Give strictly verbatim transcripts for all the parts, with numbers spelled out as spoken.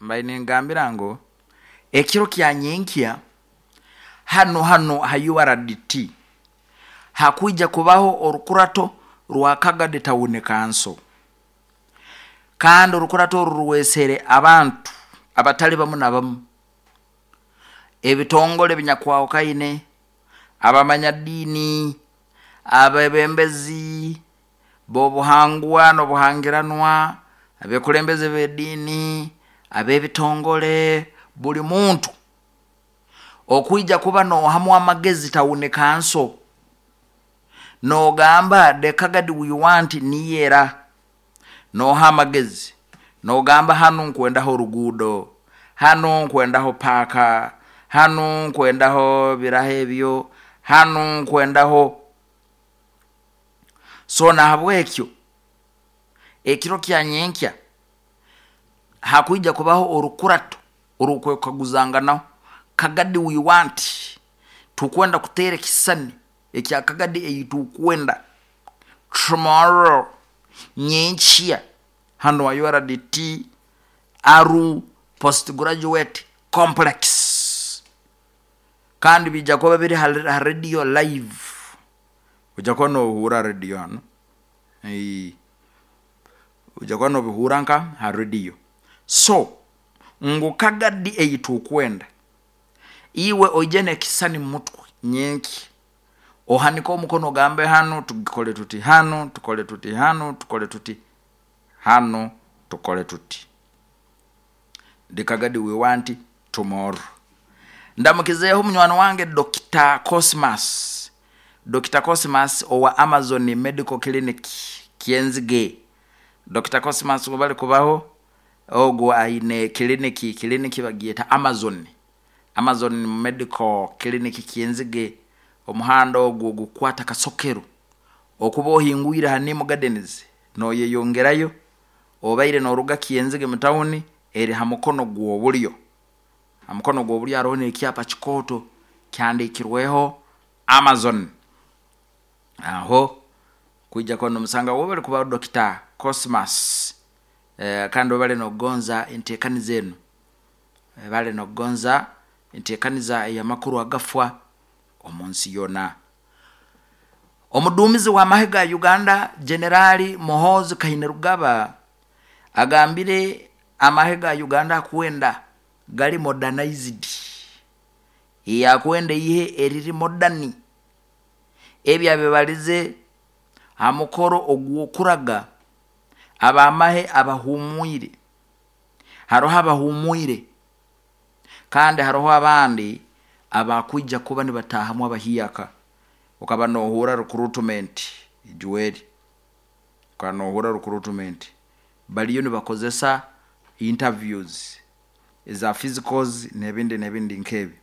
Mbaire ningambira ngu ekiro kya nyenkya hano hano ha U R D T hakwija kubaho orukurato rwa Kagadi Town Council, kandi orukurato oru rwesere abantu abatali bamu na bamu, ebitongole ebinyakwahukane, abamanyadiini, abebembezi b'obuhangwa n'obuhangiranwa, abekulembeze b'ediini, ab'ebitongole, buli muntu okwija kuba nohamu amagezi town council, nogamba, "The Kagadi we want niyera." Noha amagezi, nogamba, "Hanu nkwendaho oruguudo, hanu nkwendaho paaka, hanu nkwendaho biraho ebyo, hanu nkwendaho." So nahabwekyo ekiro kya nyenkya hakwija kubaho orukurato orukwekaguzanganaho Kagadi we want. Tukwenda kuteera ekisisani ekya Kagadi ei tukwenda tomorrow, nyenkya, hanu wa U R D T Aruu Post Graduate Complex, kandi bijja kuba biri ha radio live. Ojja kuba nohuura radio hanu, ojja kuba nobihuura nka ha radio. So ngu Kagadi ei tukwenda, iwe oije nekisisani mumutwe nyenkya, ohanike omukono, ogambe, "Hanu tukole tuti, hanu tukole tuti, hanu tukole tuti, hanu tukole tuti, the Kagadi we want tomorrow." Ndamukizeeho munywani wange Doctor Cosmas, Doctor Cosmas owa Amazon Medical Clinic Kyenzige. Doctor Cosmas bali kubaho, ogwo aine kiliniki, kiliniki bagyeta Amazon, Amazon Medical Clinic Kyenzige. Omuhanda ogwo gukwata Kasokero, okuba ohingwire Hanimu Gardens noyeyongerayo, obaire noruga Kyenzige mu tawuni, eri ha mukono gw'obulyo. Ha mukono gw'obulyo haroho n'ekyapa kikooto kihandikirweho Amazon. Aho kwija kuba nomusanga. Webale kubaho, Doctor Cosmas. eh, kandi obale nokugonza entekaniza enu, bale nokugonza entekaniza ey'amakuru agafwa omu nsi yona. Omuduumizi w'amahe ga Uganda, Generali Muhoozi Kainerugaba, agambire amahe ga Uganda akwenda gali modernized, yakwenda ihe eriri modern. Ebi abibalize ha mukoro ogw'okuraga abamahe abahumwire. Haroho abahumwire kandi haroho abandi abakwija kuba nibatahamu abahiaka. Okaba nohura recruitment juweri, okaba nohura recruitment, baliyo nibakozesa interviews eza physicals n'ebindi n'ebindi nkebi.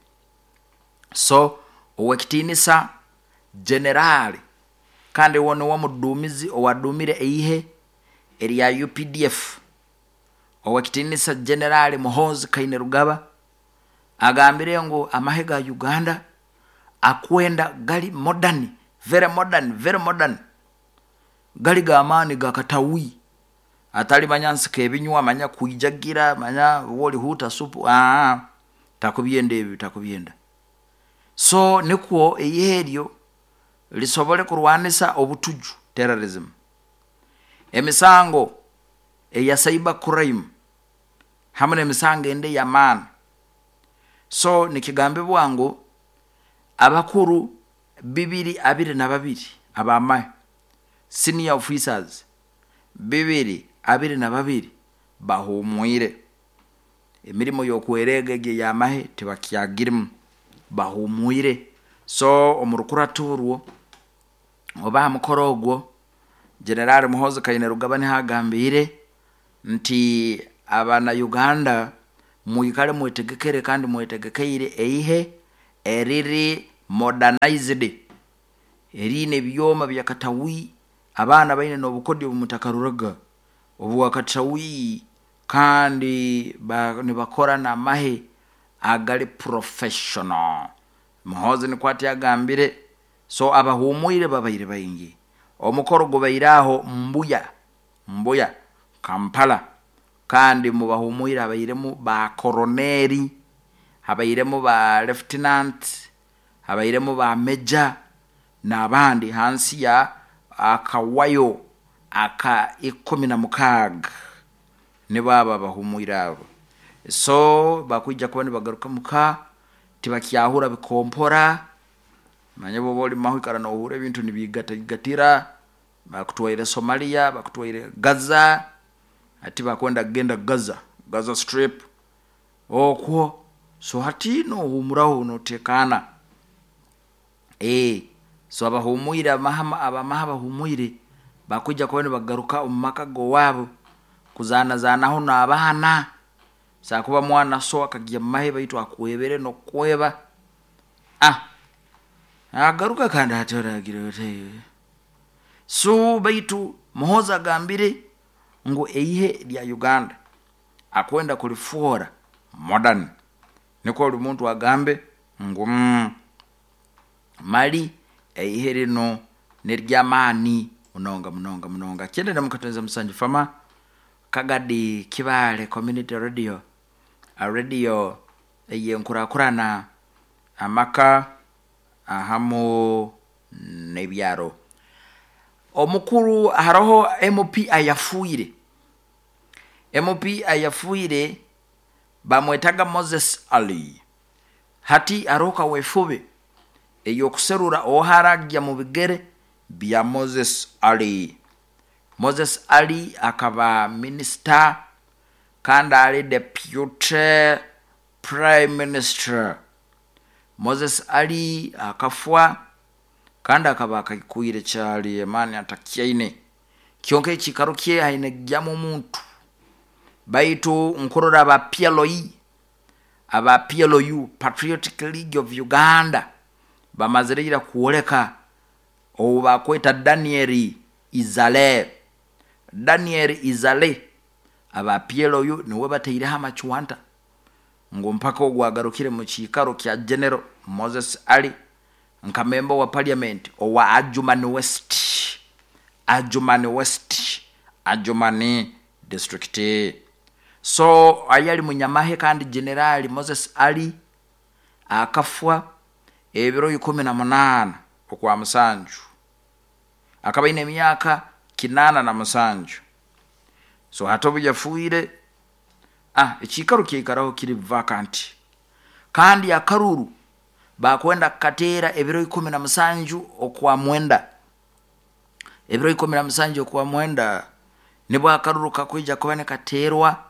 So owekitiinisa generali, kandi wo niwe muduumizi owadumire eihe erya U P D F, owekitiinisa Generali Muhoozi Kainerugaba, agambire ngu amahe ga Uganda akwenda gali modern, very modern, very modern, gali g'amaani gakatawi, atali manya nsika ebinywa, manya kwijagira, manya wolihuta supu. Aa, takubyenda ebi, takubyenda. So nikwo eihe eryo lisobole kurwanisa obutuju, terrorism, emisango eya cyber crime, hamu n'emisango endi ey'amaani. So nikigambibwa ngu abakuru bibiri abiri na babiri abamahe, senior officers bibiri abiri na babiri, bahumwire emirimo y'okwerega egi ey'amahe, tibakyagirimu, bahumwire. So omu rukurato orwo oba ha mukoro ogwo, Generali Muhoozi Kainerugaba niho agambiire nti abana Uganda mwikale mwetegekere kandi mwetegekeire eihe eriri modernized, eriine ebyoma byakatawi, abaana baine n'obukodyo obumutakaruraga obwakatawi, kandi nibakora n'amahe agali professional. Muhoozi nikwo ati agambire. So abahumwire babaire baingi. Omukoro gubaire aho Mbuya, Mbuya Kampala. Kandi mubahumwire habairemu ba koroneri, habairemu ba lieutenant, habairemu ba meja n'abandi hansi ya akawayo aka ikumi na mukaaga, nibo abo abahumwire abo. So bakwija kuba nibagaruka muka, tibakyahurra bikompora. Omanyire obu oba ori mumahe oikara nohurra ebintu nibiigataigatira, bakutwaire Somalia, bakutwaire Gaza, hati bakwenda kugenda Gaza, Gaza strip okwo, so hati nohumuraho notekaana. So abahumwire abamahe abahumwire bakwija kuba nibagaruka mumaka gowaabo kuzaana zaanaho n'abaana, asobola kuba mwana so akagya mumahe baitu akwebere nokukweba, nagaruka kandi hati oragira ota iwe. So baitu Muhoozi agambire ngu eihe rya Uganda akwenda kurifwoora modern, nikwo buri muntu agambe ngu mali eihe rinu niryamaani munonga munonga munonga. Kyenda nemu musanju fama Kagadi Kibaale community radio, radio eyenkurakurana amaka ahamu nebyaro. Omukuru haroho M P ayafiire, M P ayafiire bamwetaga Moses Ali. Hati haroho kaweefube eyokuserra oha aragya mubigere bya Moses Ali. Moses Ali akaba minister kandi ali deputy prime minister. Moses Ali akafwa kandi akaba akaikwire kyali, amaani atakyaine, kyonka ekiikaro kye haine kugyamu omuntu. Baitu nkurora aba P L U, aba P L U, Patriotic League of Uganda, bamazire ira kwoleka ou bakweta Daniel Izale. Daniel Izale, aba P L U nuwe bataireho amacwanta ngu mpaka ogu agarukire mukiikaro kya General Moses Ali nka member wa parliament owa Adjumani West, Adjumani West, Adjumani district. So ayali munyamahe kandi generali Moses Ali akafwa ebiro ikumi na munaana okwa musanju, akaba aine emyaka kinaana na musanju. So hati obu yafiire, ah ekiikaro kyaikaraho kiri vacant, kandi akaruru bakwenda kukateera ebiro ikumi na musanju okwa mwenda. Ebiro ikumi na musanju okwa mwenda nibwo akaruru kakwija kuba nikateerwa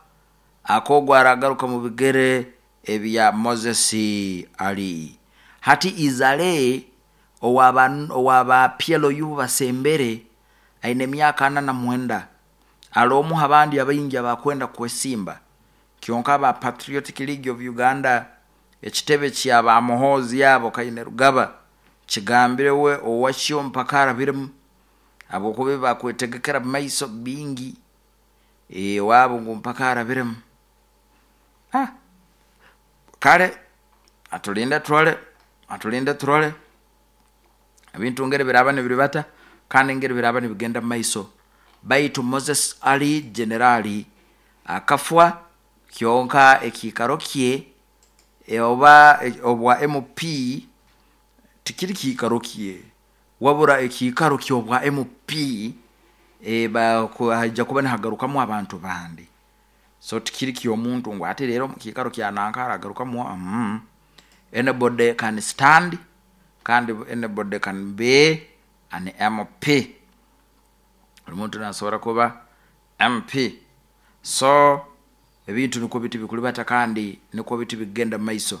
akogu aragaruka mubigere ebya Moses Ali. Hati Izale owaba owaba P L U basembere aine emyaka ana na mwenda, ali omu abandi abaingi abakwenda kwesimba. Kyonka aba Patriotic League of Uganda, ekitebe kyaba Muhoozi abo Kainerugaba, kigambire we owakyo mpaka arabiremu, habwokuba bakwetegekera mumaiso bingi owaabo ngu mpaka arabiremu. Ah, kale atulinde turole, atulinde turole ebintu ngeri biraba nibiribata kandi ngeri biraba nibigenda mumaiso. Baitu Moses Ali generali akafwa, kyonka ekiikaro kye oba obwa M P tikiri kiikaro kye, wabura ekiikaro kyobwa M P haija kuba nihagarukamu abantu bandi. So tikiri kyomuntu ngu hati rero mukiikaro kya nanka haragarukamu oha mm. Anybody can stand kandi anybody can be an M P, buri muntu nasobora kuba M P. So ebintu nikwo biti bikulibata kandi nikwo biti bikugenda mumaiso.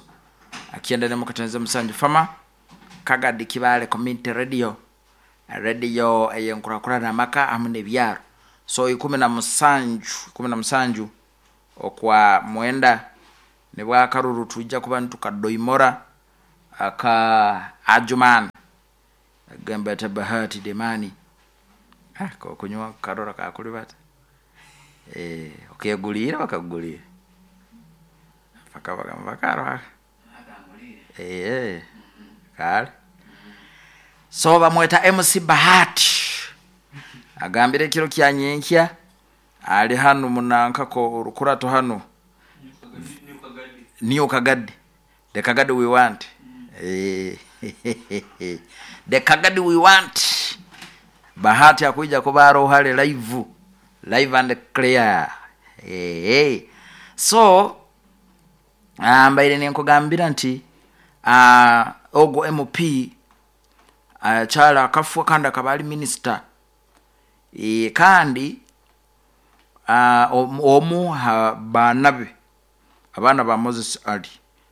Akyenda nemu katoneza musanju fama Kagadi Kibaale community radio, radio eyenkurakurana amaka hamu nebyaro. So ikumi na musanju, ikumi na musanju okwa mwenda nibwo akaruru twija kuba nitukadoimora aka Adjumani. Agamba ati Bahati Demani, ah, kokunywa karora kakulibata, eh, okeguliire bakakugulira paka paka eh, kale. So bamweta M C Bahati, agambire ekiro kya nyenkya Ali hanu munankako orukurato hanu niyo Kagadi, the Kagadi we want. Eh, the Kagadi we want. Bahati akuija kuba aroho live live and clear. Eh, so mbaire nenkugambira nti uh, ogwo M P akyala akafwa kandi akaba ali minisita. E, kandi uh, omu ha baana be, abaana ba Moses Ali,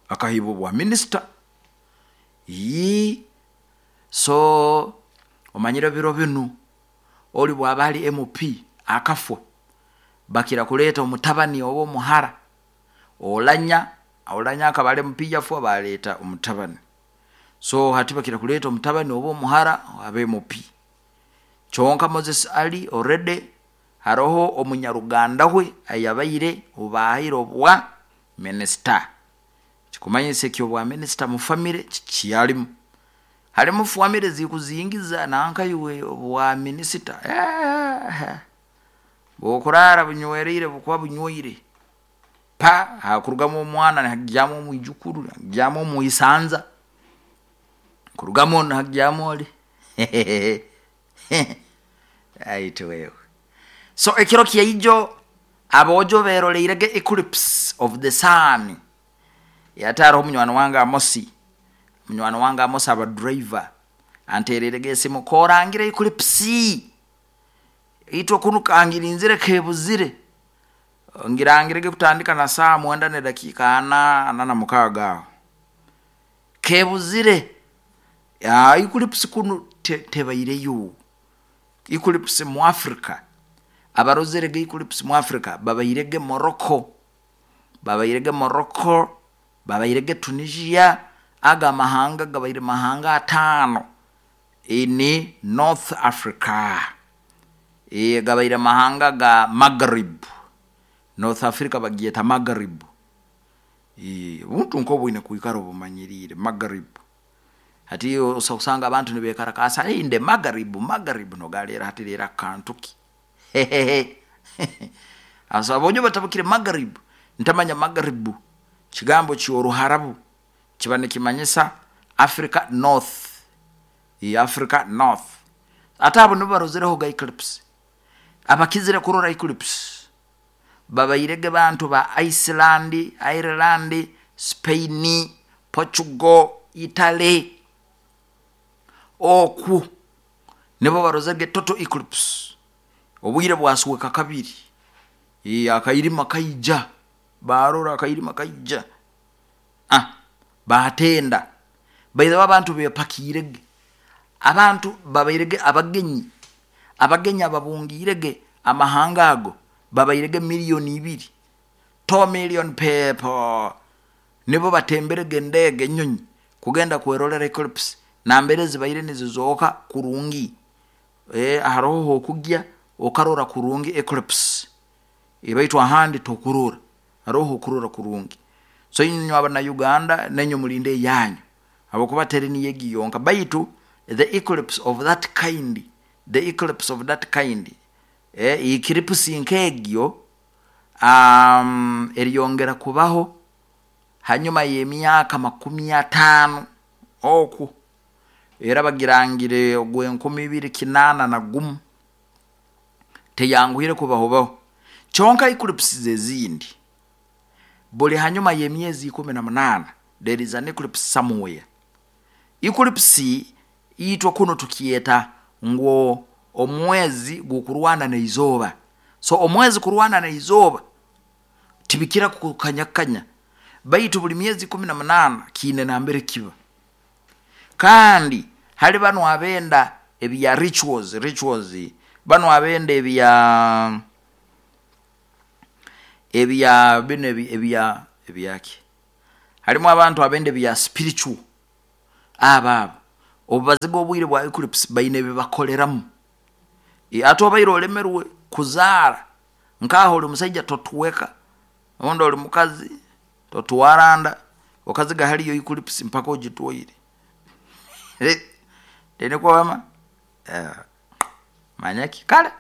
akahibwa obwa minisita. Yi so omanyire biro binu oli bwaba ali M P akafwa, bakira kuleeta omutabani oba omuhara. Olanya Olanya akaba ali M P, yafwa, baleeta omutabani. So hati bakira kuleeta omutabani oba omuhara abe M P. Kyonka Moses Ali already haroho omunyaruganda we ayabaire obahaire obwa minisita. Kikumanyisa ekyo obwa minisita mu famire kikyalimu. Halimu famire zikuzingiza nankaiwe obwa minisita, eh, bwokurara bunywereire, bukuba bunyweire pa hakurugamu omwana, nihagyamu omwijukuru, nihagyamu omwisanza, kurugamu nihagyamu oli aitu wewe. So ekiro kyaijo abojo beroleirege eclipse of the sun. Yate hariho munywani wange Amosi, munywani wange Amosi aba driver, antererege esimu, korangire eclipse itwe kunu kangirinzire kebuzire. Ngirangirege kutandika na saa mwenda ne dakika ana ana na mukaaga aho kebuzire. Ya eclipse kunu te, tebaireyo eclipse mu Africa. Abarozerege eclipse mu Africa babairege Morocco, babairege Morocco, babairege Tunisia. Aga mahanga gabaire mahanga atano ini North Africa. E, gabaire mahanga ga Maghrib. North Africa bagyeta Maghrib. E, buntu nkobwine kwikara obumanyirire Maghrib. Hati osanga abantu nibekarakasa, hey, nde Maghrib, Maghrib nogalera hati lera kantuki. Asa abonyo batabukire Maghrib, ntamanya Maghrib kigambo kyoruharabu kiba nikimanyisa Africa North. E, Africa North. Ate abo nibo barozereho ga eclipse. Abakizire kurora eclipse babairege bantu ba Iceland, Ireland, Spain, Portugal, Italy. Oku nibo barozege total eclipse, obwire bwasuweka kabiri. E, akairima kaija, barora akairima kaija, ah, batenda baithe abantu bepakirege, abantu babairege abagenyi, abagenyi ababungirege amahanga ago babairege miliyoni ibiri, two million people nibo batemberege endege, enyonyi, kugenda kwerolera eclipse nambere zibaire nizizooka kurungi. E, haroho hokugya okarora kurungi eclipse, ebaitu ahandi tokurora. Haroho okurora kurungi. So inywe abana Uganda nenyo mulinde yanyu habwokuba teri niyegi yonka. Baitu the eclipse of that kind, the eclipse of that kind, eh, eclipse nk'egyo um, eriyongera kubaho hanyuma y'emyaka makumi ataano oku. Era bagirangire ogw'enkumi ibiri kinaana na gumu. Teyanguhire kubahobaho. Kyonka eclipses ezindi buli hanyuma y'emyezi ikumi na munaana there is an eclipse somewhere. Eclipse itwe kuno tukyeta ngu omwezi gukurwana neizooba. So omwezi kurwana neizooba tibikira kukanyakanya, baitu buli myezi ikumi na munaana kiine nambere kiba. Kandi hali bano abenda ebya rituals, rituals, bano abenda ebya ebya bino ebya ebyaki, halimu abantu abenda ebya spiritual. Abo abo obubaziga obwire bwa eclipse baine ebibakoleramu. E, ate obaire olemerwe kuzaara, nkaho oli musaija totuweka, ondi oli mukazi totwaranda, okaziga haliyo eclipse mpaka ogitwaire tenikwama. Uh, manyaki kale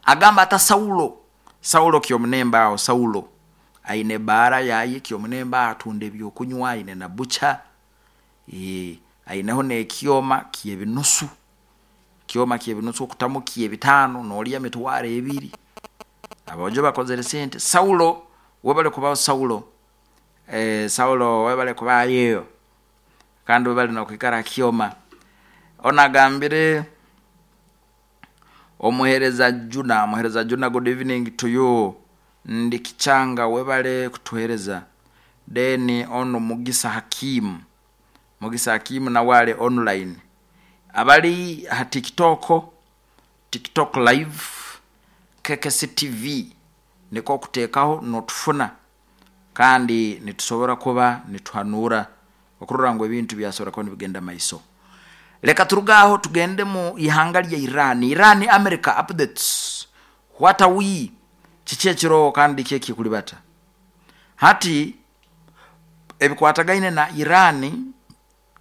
agamba ata Saulo, Saulo Kyomunemba aho, Saulo aine baara yaye Kyomunemba, atunda ebyokunywa, aine na bucha, e, aineho n'ekyoma ky'ebinusu, kyoma ky'ebinusu okutamu ky'ebitaano noolya mitwaro ebiri. Aboojo bakozere sente. Saulo webale kubaho. Saulo, eh, Saulo webale kubayo kandi webale nokwikara Kyoma. Onu agambire omuhereza Juna, muhereza Juna, good evening to you. Ndi Kichanga, webale kutuhereza. Then ono Mugisa Hakimu, Mugisa Hakimu nawe ali online. Abali ha TikTok, TikTok live K K C T V niko kuteekaho notufuna, kandi nitusobora kuba nituhanura okurora ngu ebintu byasobora kuba nibigenda maiso. Leka turugaho tugende mu ihanga lya Iran. Iran America updates, what are we, kiki ekiro kandi kiki ekikulibata hati ebikwatagaine na Iran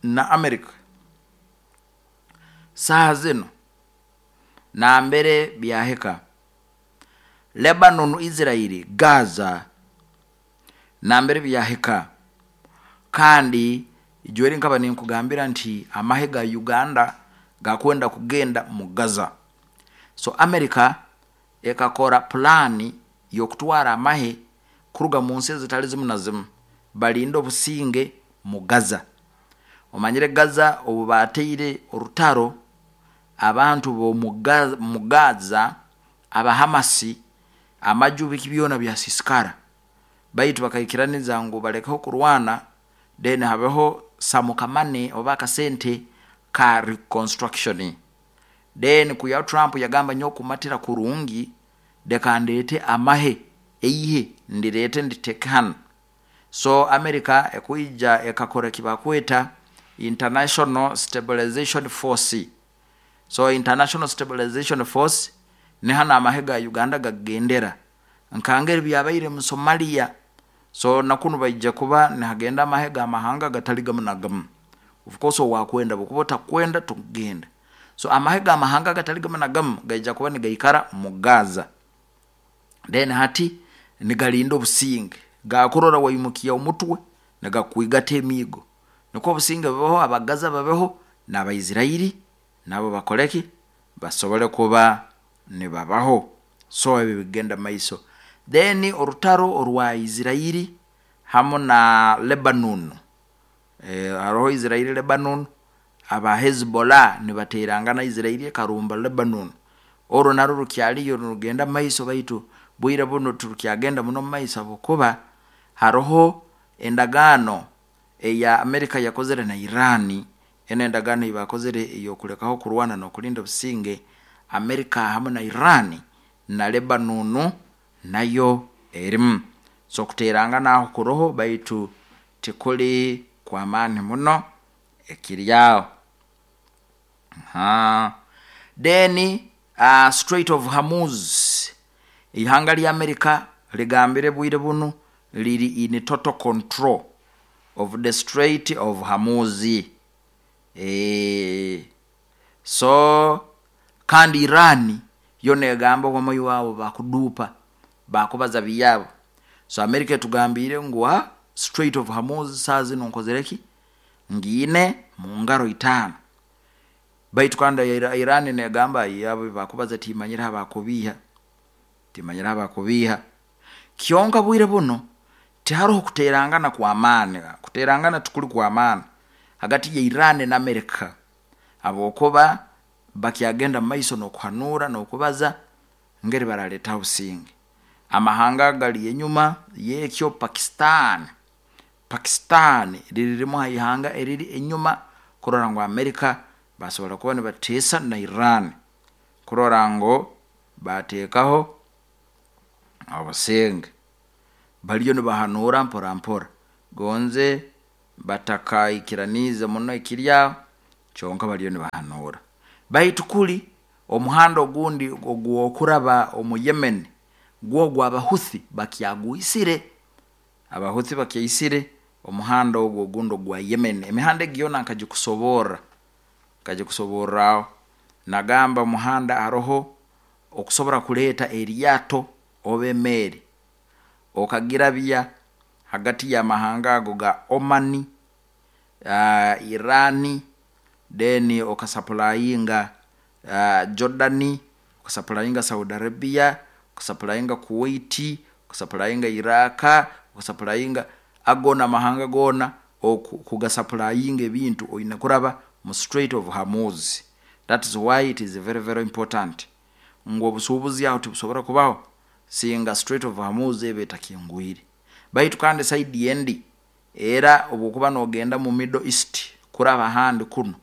na America saha zino nambere byahika. Lebanon, Israel, Gaza nambere byahika. Kandi ijweri nkaba ninkugambira nti amahe ga Uganda gakwenda kugenda mu Gaza. So America ekakora plani yokutwara amahe kuruga mu nsi ezitali zimu na zimu balinde obusinge mu Gaza. Omanyire Gaza obu bateire orutaro, abantu bo mu Gaza abahamasi amaju biki byona byasisikara, baitu bakaikiraniza ngu balekeho kurwana, then habeho samukamane oba akasente ka reconstruction. Then kuya Trump yagamba nyo kumatira kurungi, deka ndete amahe eihe ndirete nditeke hano. So America ekuija ekakora kibakweta International Stabilization Force. So International Stabilization Force ni hano amahe ga Uganda gagendera nkangeri byabaire mu Somalia. So nakunu baija kuba nihagenda amahe ga mahanga gatali gamu na gamu. Of course owakwenda bukuba otakwenda tugenda. So amahe ga mahanga gatali gamu na gamu gaija kuba nigaikara mu Gaza. Then hati nigalinda obusinge, gakurora waimukia omutwe nigakwigata emiigo, nikwo obusinge bubeho, abagaza babeho n'Abaisraeli nabo bakoleki basobole kuba nibabaho. So ebi bigenda maiso. Then orutaro orwa Israeli hamu na Lebanon, e, haroho Israeli Lebanon, aba Hezbollah nibaterangana Israeli ekarumba Lebanon. Orwo narwo rukyaliyo rugenda maiso, baitu bwire buno turukyagenda muno maiso habwokuba haroho endagaano eya Amerika yakozere na Iran. Eno endagaano eyibakozere eyokulekaho kurwana n'okulinda obusinge, Amerika hamu na Iran na Lebanon nayo erimu. So kuterangana aho kuroho, baitu tikuli kwamaani muno ekiri aho. Then uh, Strait of Hormuz, ihanga lya Amerika ligambire bwire bunu liri in total control of the Strait of Hormuz. E, so kandi Iran yo negamba wamoyo wabo bakudupa bakubaza biyabo. So Amerika etugambire ngu Strait of Hormuz saa zino nkozereki ngine mu ngaro itano, baitu kandi Iran negamba yabo bakubaza timanyira abakubiha, timanyira abakubiha. Kyonka bwire buno tiharoho kuterangana kwa amaani, kuterangana tukuli kwa amaani hagati ya Iran na Amerika, habwokuba bakyagenda maiso n'okuhanura n'okubaza ngeri baraleta obusinge. Amahanga gali enyuma yekyo Pakistan, Pakistan liririmu ihanga eriri enyuma kurora ngu Amerika basobora kuba nibateesa na Iran kurora ngu bateekaho obusinge. Baliyo nibahanura mpora mpora, gonze batakaikiranize muno ekirya, kyonka baliyo nibahanura. Baitu kuli omuhanda ogundi ogwokuraba omu Yemen gwo gw'Abahuthi bakyagwisire, Abahuthi bakyaisire omuhanda ogwo ogundi ogwa Yemen. Emihanda egi yona nkagikusoborra, nkagikusoborraho. Nagamba omuhanda haroho okusobora kuleeta eryato Oba emeeri okagirabya hagati y'amahanga ago ga Omani, uh, Irani, then okasupplyinga uh, Jordani, okasupplyinga Saudi Arabia, okasupplyinga Kuwait, okasupplyinga Iraq, okasupplyinga ago n'amahanga goona, kugasupplyinga ebintu oine kuraba mu Strait of Hormuz. That is why it is very very important ngu obusuubuzi aho tibusobora kubaho singa Strait of Hormuz eba etakingwire. Baitu kandi side endi era obwokuba nogenda mu Middle East kuraba ahandi kunu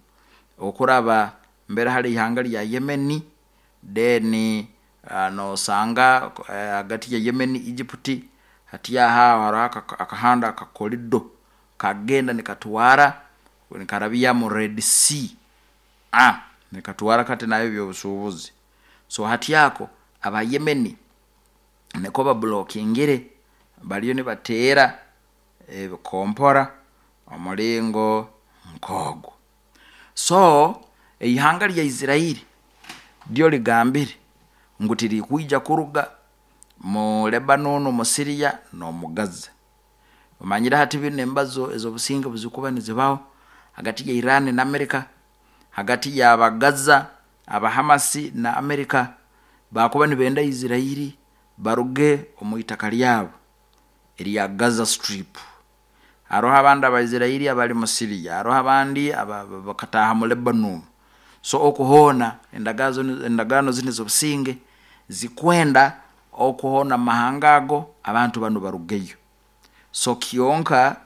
okuraba mbere hali ihanga lya Yemeni, then uh, nosanga hagati ya Yemen, Egypt, hati aho haroho akahanda akakorido kagenda nikatwara nikarabya mu Red Sea, ah, nikatwara kati nayo ebyobusuubuzi. So hati ako aba Yemeni niko bablockingire, bariyo nibateera ebikompora omulingo nk'ogwo. So eihanga lya Isirairi ryo ligambire ngu tirikwija kuruga mu Lebanon, mu Syria n'omu Gaza. Omanyire hati binu embazo ez'obusinge buzikuba nizibaho hagati ya Iran na America, hagati y'Abagaza Abahamasi na America, bakuba nibenda Isirairi baruge omu itaka lyabo erya Gaza Strip. Haroho abandi Abaisirairi abali mu Syria, haroho abandi bakataaha mu Lebanon. So okuhoona endagaano zinu ez'obusinge zikwenda okuhoona amahanga ago abantu banu barugeyo. So kyonka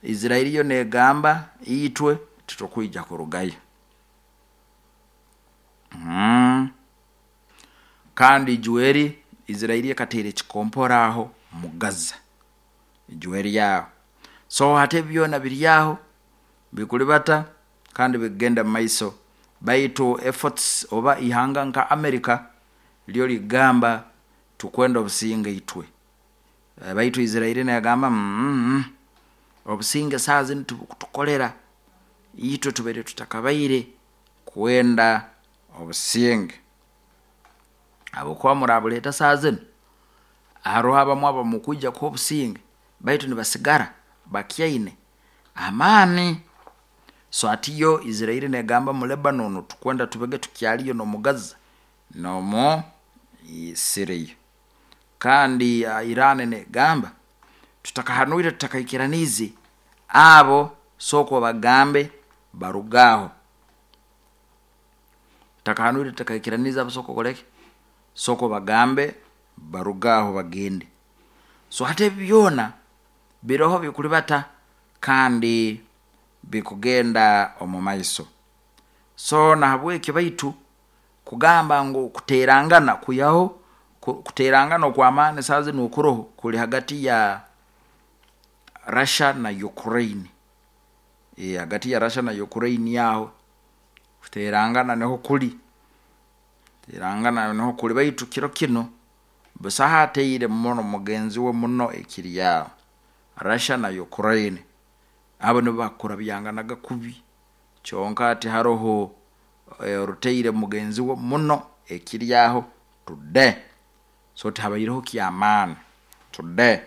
Isirairi yo negamba itwe titukwija kurugayo. Mm. Kandi ijweri Isirairi ekateera ekikompora aho mu Gaza, ijweri yaho. So hati ebi byona biri aho bikulibata kandi bikugenda mumaiso, baitu efforts oba ihanga nka America ryo ligamba tukwenda obusinge itwe, baitu Isirairi negamba mm, obusinge saaha zinu tibukutukolera, itwe tubaire tutakabaire kwenda obusinge, habwokuba murabuleeta saaha zinu haroho abamu abamukwija kuha obusinge baitu nibasigara bakyaine amaani. So hati yo Isirairi negamba mu Lebanon tukwenda tubege tukyaliyo n'omu Gaza n'omu Syria. Kandi Iran negamba tutakahanuire, tutakaikiraniize abo, sooka obagambe baruge aho. Tutakahanuire, tutakaikiraniize abo, sooka okoleki, sooka obagambe baruge aho bagende. So hati ebi byona biroho bikulibata kandi bikugenda omu maiso. So nahabwekyo baitu kugamba ngu kuterangana kwihaho kuterangana okw'amaani saaha zinu okuroho kuli hagati ya Russia na Ukraine. E, hagati ya Russia na Ukraine aho kuterangana niho kuli, kuterangana niho kuli, baitu kiro kinu busaho ateire muno mugenzi we muno ekiri aho. Russia na Ukraine abo nibo bakurabyanganaga kubi, kyonka hati haroho oruteire mugenzi we muno ekiri aho today. So tihabaireho kyamaani today,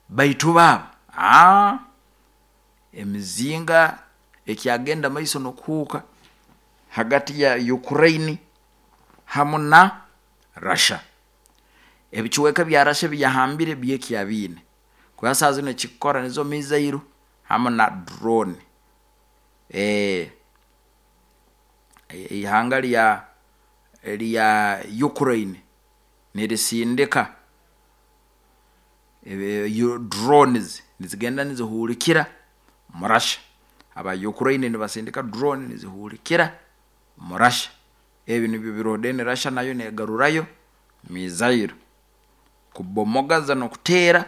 baitu baabo aa emizinga ekyagenda maiso n'okuhuuka hagati ya Ukraine hamu na Russia. Ebicweka bya Russia ebiyahambire byekyabiine kuba saaha zinu ekikukora nizo missile hamu na drone. E, ihanga lya lya Ukraine nirisindika drones nizigenda nizihulikira mu Russia, aba Ukraine nibasindika drone nizihulikira mu Russia. Ebi nibyo biroho. Then Russia nayo negarurayo missile kubomogaza n'okuteera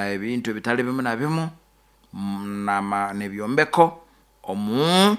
ebintu ebitali bimu na bimu n'ebyombeko omu